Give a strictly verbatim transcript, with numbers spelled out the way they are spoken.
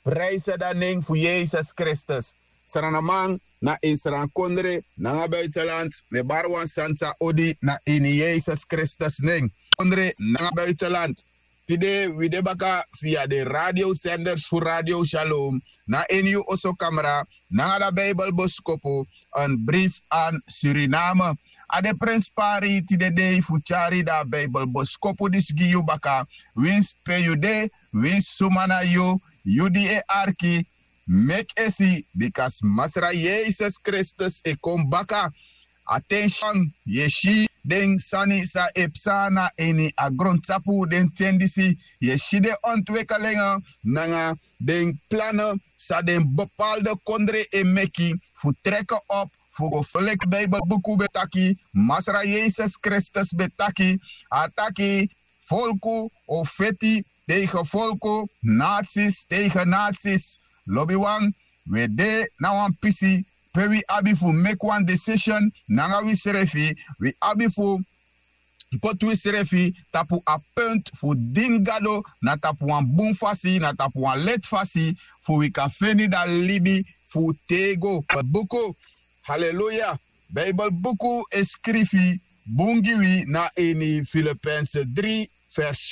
Prijsede a nen fu Yesus Kristus. Sranaman na ini srankondre nanga buitenland, mi e bari wan santa odi na ini Yesus Kristus nen. Kondre nanga buitenland. Tide wi de baka via den radiosenders fu Radio Shalom, na ini yu osokamra, nanga da Bijbelboskopu, een brief aan Suriname. A de prenspari tide dei fu tyari da Bijbelboskopu disi gi yu baka, winsi pe yu de, winsi suma na yu, yu di e arki, meki esi, bika Masra Yesus Kristus e kon baka. Atenshon, yu e si den sani san e psa na ini a grontapu den ten disi, yu e si den ontwikkelingi nanga den plani san den bepaalde kondre e meki fu treke op fu go foleki. Bijbelbuku ben taki, Masra Yesus Kristus ben taki, a taki, folku o feti tegen folku, naties tegen naties. Lobiwan, wi e de na wan pisi pe wi abi fu meki wan decision nanga wisrefi, wi abi fu poti wisrefi tapu a punt fu dini Gado na tapu wan bun fasi, na tapu wan leti fasi, fu wi kan feni da libi fu tego. Buku, haleluya, Bijbelbuku e skrifi bun gi wi na ini Filipense dri, vers